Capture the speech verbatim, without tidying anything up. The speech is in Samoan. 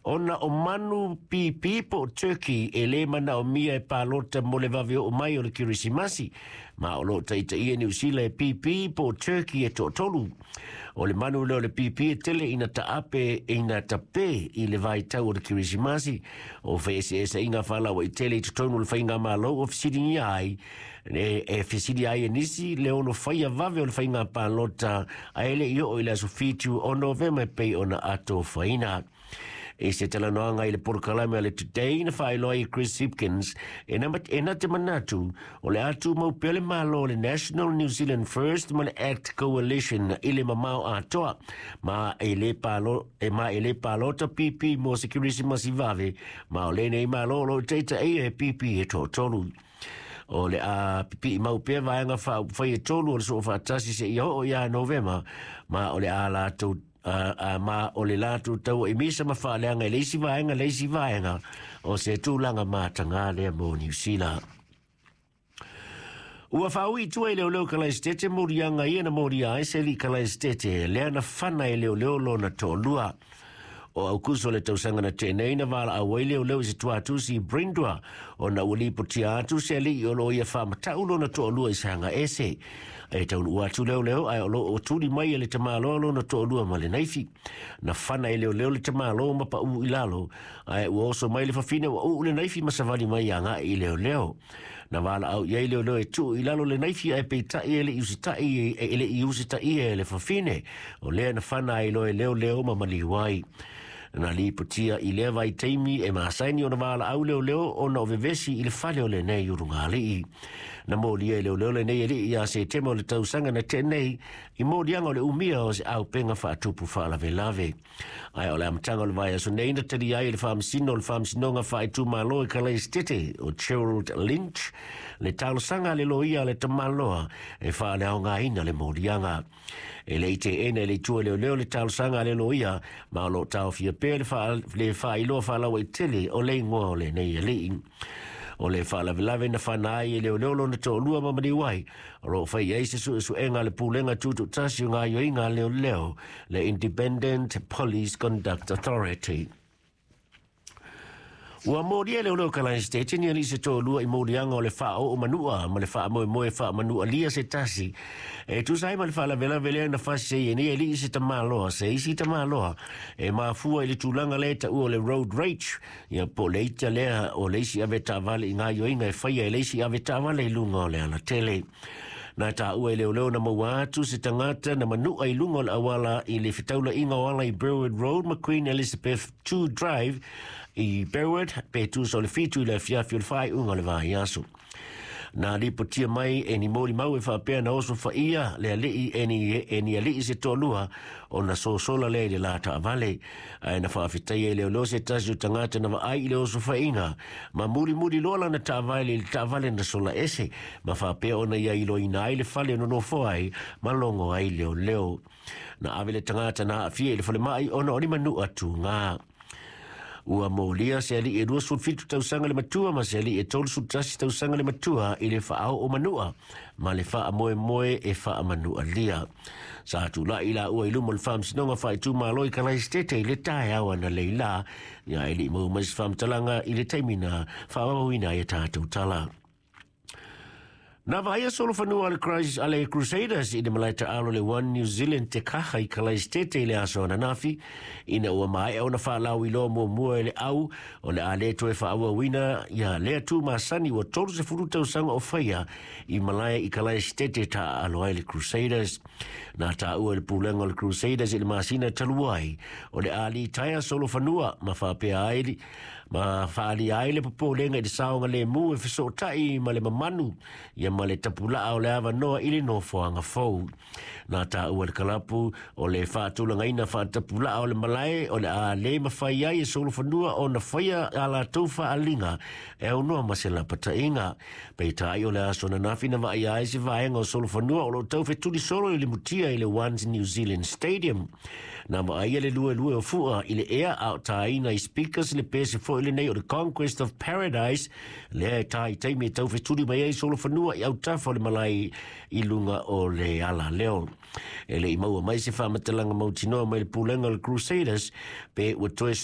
Ona o manu pīpī po o turkey e lē manaomia e palota mo le vave oo mai o le Kerisimasi, ma o loo taitaia Niu Sila e pīpī po o turkey e toatolu. O le manu lea o le pīpī e tele ina taape ina tapē i le vaitau o le Kerisimasi. O feeseeseaiga faalauaitele i totonu o le faigamalo ua fesiligia ai e, e fesili ai e nisi le ono faia vave o le faiga palota ae le i oo i le aso fitu o Novema e pei ona atofaina. I se talanoaga i le polokalame a le Today, na faailoa ai e Chris Hipkins e na, e na te manatu o le a tumau pea le Malo o le National New Zealand First ma le Act Coalition i le mamao atoa, ma e le palo, e ma e le palota pīpī mo se Kerisimasi vave, ma o lenei Malo o lo o taitaia e pīpī e toatolu. O le a pipii mau pea vaega faaupufai e tolu o le Soofaatasi seia oo ia Novema, ma o le a latou a, a, ma o le latou tauaimisa ma faaleaga i le isi vaega le isi vaega o se tulaga matagā lea mo Niu Sila. Ua faaui i tua i leoleo Kalaesetete moliaga ia na molia ai se alii Kalaesetete lea na fana e leoleo lona toalua. O Aukuso le tausaga na tea nei na valaau ai leoleo i se tuatusi i Brindwa ona ua lipotia atu se alii o loo ia faamatau lona toalua i saga ese. E taunuu atu leoleo ae o loo tuli mai e le tamaloa lona toalua ma le naifi. Na fana e leoleo le tamaloa ma paū i lalo, ae ua oso mai le fafine ua uu le naifi ma savali mai agai i leoleo. Na valaau i ai leoleo e tuu i lalo le naifi, ae peitai e le i usitai e le i usitaia e le fafine. O lea na fana ai loa e leoleo ma maliu ai. Na lipotia i lea vaitaimi e masani ona valaau leoleo ona o vevesi i le fale o lenei ulugalii. Na molia e leoleo lenei alii ia Setema o le tausaga na tea nei i moliaga o le umia o se auupega faatupu faalavelave. Ae o le amataga o le vaiaso nei na talia ai e le faamasino o le Faamasinoga Faaitumalo i Kalaesetete o Gerald Lynch le talosaga a le loia a le tamaloa e faaleaogaina le moliaga. E le i teena e le itu a leoleo le talosaga a le loia, ma o loo taofia pea le, faa, le faailoa faalauaitele o le igoa o lenei alii. O le faalavelave na fana ai e leoleo lona toalua ma maliu ai, o loo fai ai se suesuega a le Pulega Tutoatasi o Gaoioiga a Leoleo, le Independent Police Conduct Authority. Ua molia e leoleo Kalaesetete ni alii se toalua i moliaga o le faaoo manua ma le faamoemoe faamanualia se tasi e tusa ai ma le faalavelave lea na fasi ai e nei alii se tamaloa se isi tamaloa e mafua i le tulaga lea e taua o le road rage, ia po o le ita lea o le isi avetaavale i gaoioiga e faia e le isi avetaavale i luga o le alatele. Na taua e leoleo na maua atu se tagata na manua i luga o le auala i le fetaulaiga o ala i Burwood Road ma Queen Elizabeth two Drive i Burwood pe tusa o le fitu i le afiafi o le faaiuga o le vaiaso. Na lipotia mai e ni molimau e faapea na oso faia le alii e ni, e ni alii se toalua ona sosola lea i le la taavale. Ae na faafetaia e leoleo se tasi o tagata na vaai i le oso faiga ma mulimuli loa lana taavale i le taavale na sola ese ma faapea ona ia iloaina ai le fale o nonofo ai ma logo ai leoleo. Na ave le tagata na aafia i le falemai ona o ni manua tugā. Ua molia se alii e luasefulu fitu tausaga le matua ma se alii e tolusefulu tasi tausaga le matua i le faaoo manua ma le faamoemoe e faamanualia. Sa tulai laua i luma o le Faamasinoga Faaitumalo i Kalaesetete i le taeao analeila, ia e le i maua mai se faamatalaga i le taimi na faaauauina ai a tatou tala. Na vaaia solofanua a le Christ, a le Crusaders i le malae taaalo le One New Zealand Te Kaha i Kalaesetete i le aso ananafi, ina ua maea ona faalauiloa muamua e le au o le a le toe faaauauina ia lea tu masani ua tolusefulu tausaga o faia i malae i Kalaesetete taaalo ai le Crusaders. Na taua e le pulega o le Crusaders i le masina talu ai o le a litaea solofanua ma faapea ai ma faaalia ai le popolega i le saogalemu e fesootai ma le mamanu ia ma le tapulaa o le avanoa i le nofoaga fou. Na taua e le kalapu o le faatulagaina faatapulaa o le malae o le a le mafai ai e solofanua ona faia a latou faaliga e aunoa ma se lapataiga. Peitai o le aso ananafi na vaaia ai se vaega o solofanua o loo taufetuli solo i le mutia i le One New Zealand Stadium. Na vaaia le luelue o fua i le ea a o tāina i speakers le pese foi lenei o le Conquest of Paradise lea e tā i taimi e taufetuli mai ai solofanua i autafa o le malae i luga o le alaleo. E le i maua mai se faamatalaga mautinoa mai le pulega o le Crusaders pe ua toe